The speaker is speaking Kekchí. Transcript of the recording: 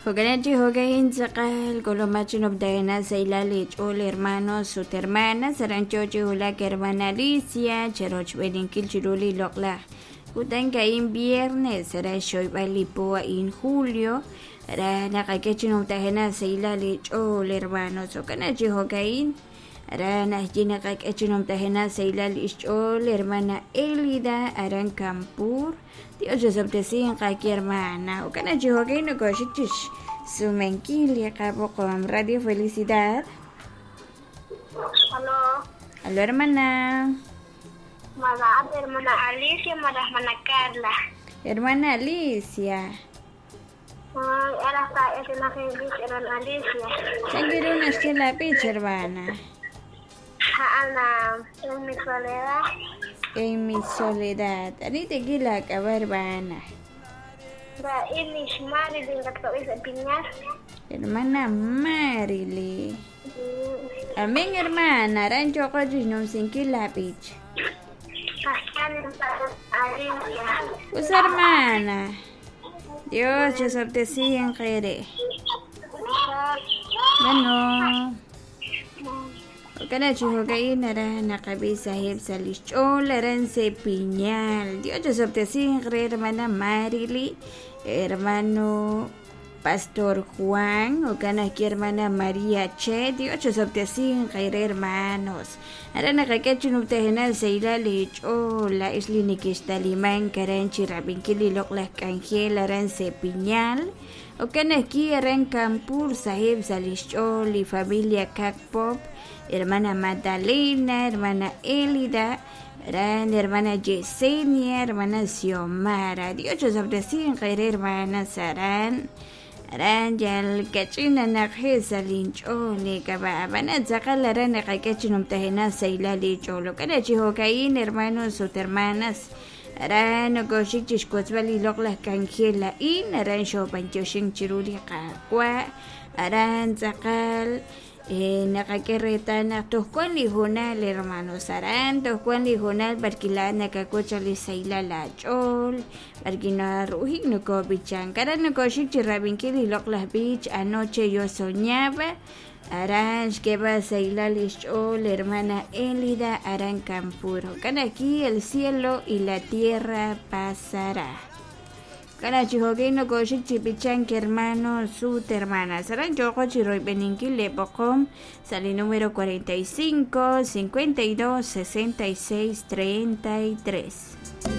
Jo'kan chi jo'ka'in tz'aqal k'ulub'aj chi numtajenaq sahilal li ch'ool hermanos ut hermanas aran yo chi wulak hermana Alicia cherochb'eeninkil chiru li loq'laj kutan a'in viernes re xhoyb'al li po a'in julio re naqak'e chi numtajenaq sahilal li ch'ool hermanos jo'kan chi jo'ka'in re naxye naqak'e chi numtajenaq sahilal li xch'ool hermana Elida aran Campur Dios chosob'tesinq aawe hermana jo'kan chi jo'ka'in nokoxik chi xsumenkil li qab'oqom Radio Felicidad. Aló. Aló hermana. Madame, hermana Alicia, madame, hermana Carla. Hermana Alicia. Ay, era está es una feliz hermana Alicia. Changiru naxye la b'ich hermana. Ana, en mi soledad. En mi soledad. Ani tekila k'ab'a hermana. Da Ilish Marilyn Gactois Piñas. Hermana Marily. Amén hermana. Aran yoqo chixnumsinkil la b'ich. Alicia. Us hermana. Dios chosob'tesinq ere. Bueno. Jo'kan chi jo'ka'in aran naqab'i sahib sa' li xch'ool aran Sepiñal. Dios chosob'tesinq re hermana Marily, hermano Pastor Juan, jo'kan ajwi' hermana María Che, Dios chosob'tesinq re hermanos. Aran naqak'e chi numtajenaq sahilal li ch'ool la'ix li nekextalimank aran chi rab'inkil li loq'laj k'anjel aran Sepiñal. Jo'kan ajwi' aran Campur sahib sa' li xch'ool li familia Kakpop, hermana Magdalena, hermana Elida, aran hermana Yesenia, hermana Xiomara. Dios chosob'tesinq re hermana aran. Aran yal kach'in naqje sa' linch'ool k'ab'a ab'an tz'aqal aran naqak'e chi numtajenaq sahilal li ch'ool. Jo'kan chi jo'ka'in hermanos ut hermanas aran nokoxik chi xwotzb'al li loq'laj k'anjel a'in aran xob'anyoxink chiru li Qaawa' aran tz'aqal naqak'e reetal naq toj wan li hoonal hermanos aran toj wan li hoonal b'arki laa'at nakawoch li sahilal aach'ool b'arki naru'ujik nokob'ichank aran nokoxik chi rab'inkil li loq'laj b'ich anoche yo soñaba aran xk'eeb'al sahilal li xch'ool hermana Elida aran Campur jo'kan aquí el cielo y la tierra pasará. Jo'kan chi jo'kin nokoxik chi b'ichank hermanos ut hermanas aran yoqo chi royb'eninkil li b'oqom sa' li número 45 52 66 33.